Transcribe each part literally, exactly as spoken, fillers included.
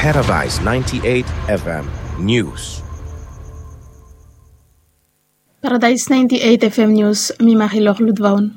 Paradise ninety-eight F M News. Paradise ninety-eight F M News, mi Marilor Ludvaun.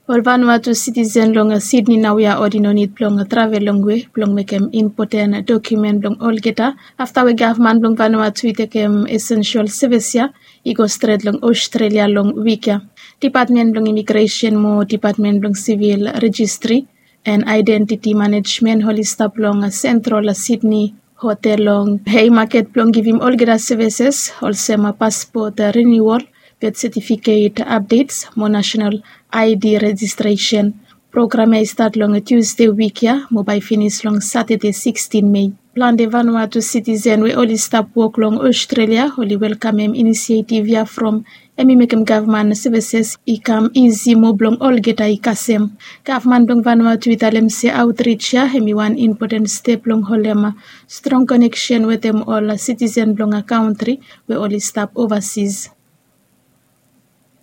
Ol Vanuatu sitisen long Sydney naoia oli no nid blong travel longwe blong mekem impoten dokumen blong olgeta afta we gavman blong Vanuatu i tekem esensial sevis ya i go stret long Australia long wik ya. Dipatmen blong Imigresen mo Dipatmen blong Sivil Rejistri and Aedentiti Manejmen oli stap long Sentral Sydney hotel long Haymarket blong givim olgeta sevises olsem paspot riniuol, bet setifiket apdets mo nasenal I D rejistresen. Program ya i stat long Tusde wik ya mo bae finis long Satade sikstin Mei. Plante Vanuatu sitisen we oli stap wok long Australia oli welkamem inisietiv ya from hem i mekem gavman sevises i kam isi mo blong olgeta i kasem. Gavman blong Vanuatu i talem se autrij ya hem i wan impoten step blong holem strong koneksen wetem ol sitisen blong kantri we oli stap ovasis.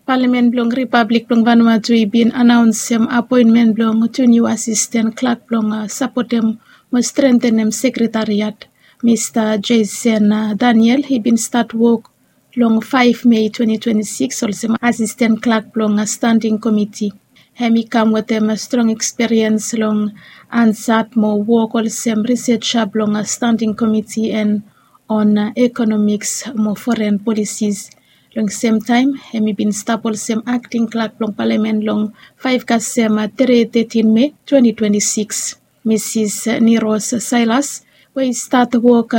Palamen blong Ripablik blong Vanuatu i bin anaonsem apoenmen blong tu niu asisten klak blong sapotem mo strentenem sekretariat. Mista Jason Daniel i bin stat wok long faef Mei twenti twenti sikis olsem asisten klak blong standing komiti. Hem i kam wetem strong ekspiriens long ansat mo wok olsem riseja blong standing komiti en on ekonomiks mo foren polisis. Long semtaem hem i bin stap olsem akting klak blong palamen long faef kasem tre tetin Mei twenti twenti sikis. Misis Niros Sailas we i stat wok